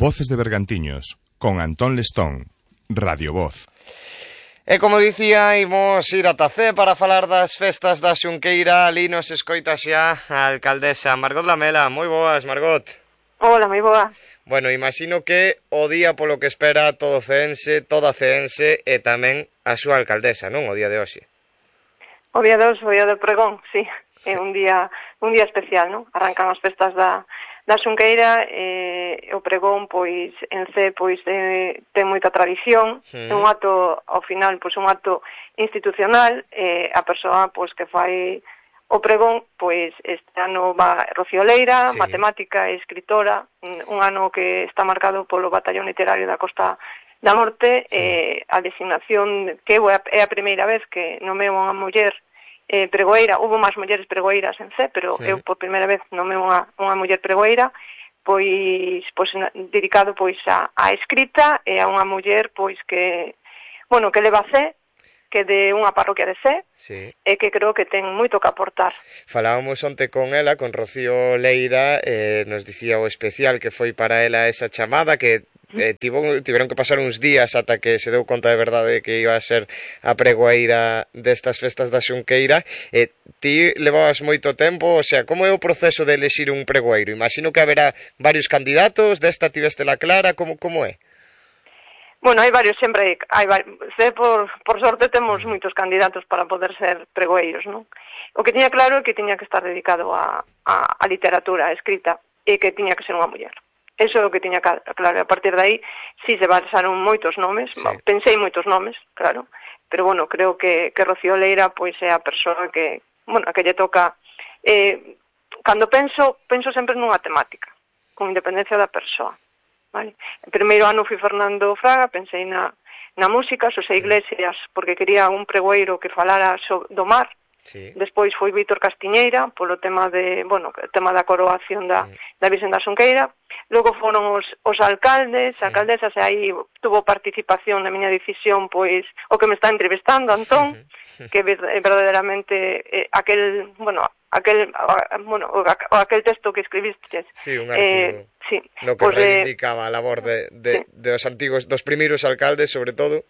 Voces de Bergantiños, con Antón Lestón, Radio Voz. E como dicía, imos ir ata Cee para falar das festas da Xunqueira. Ali nos escoita xa a alcaldesa Margot Lamela. Moi boas, Margot. Hola, moi boa. Bueno, imagino que o día polo que espera todo ceense, toda ceense e tamén a súa alcaldesa, non? O día de hoxe. O día de hoxe, o día do pregón, sí. É un día especial, non? Arrancan as festas da Xunqueira e o pregón, pois, en Cee, pois, ten moita tradición. É un acto, ao final, pois, un acto institucional. A persoa, pois, que fai o pregón, pois, este ano va Rocío Leira, sí, matemática e escritora, un ano que está marcado polo Batallón Literario da Costa da Morte, sí. A designación que é a primeira vez que nomeo unha muller pregoeira. Hubo máis mulleres pregoeiras en Cee, pero sí, eu por primeira vez nomeo unha muller pregoeira, pois dedicado pois a escrita e a unha muller pois que, bueno, que leva Cee, que de unha parroquia de Cee, sí, e que creo que ten moito que aportar. Falábamos onte con ela, con Rocío Leira, nos dicía o especial que foi para ela esa chamada, que tiveron que pasar uns días ata que se deu conta de verdade que iba a ser a pregoeira destas festas da Xunqueira. Ti levabas moito tempo, o sea, como é o proceso de elexir un pregoeiro? Imagino que haberá varios candidatos, desta tivestela clara, como é? Bueno, hai varios, sempre hai varios. Por sorte temos moitos candidatos para poder ser pregoeiros, non? O que tiña claro é que tiña que estar dedicado a literatura, a escrita, e que tiña que ser unha muller. Eso é o que tiña claro. A partir de aí, si se basaron moitos nomes, sí, pensei moitos nomes, claro, pero bueno, creo que Rocío Leira pois é a persoa que, bueno, a que lle toca. Cando penso sempre nunha temática, con independencia da persoa. Vale. O primeiro ano fui Fernando Fraga, pensei na música, Xosé Iglesias, porque quería un pregoeiro que falara do mar. Sí. Despois foi Vítor Castiñeira, polo tema o tema da coroación da Virxen da Xunqueira. Logo foron os alcaldes, alcaldesas, e aí tuvo participación na miña decisión, pois, o que me está entrevistando, Antón, que verdadeiramente aquel texto que escribiste. Sí, un artigo. Sí, no que reivindicaba a labor dos primeiros alcaldes, sobre todo.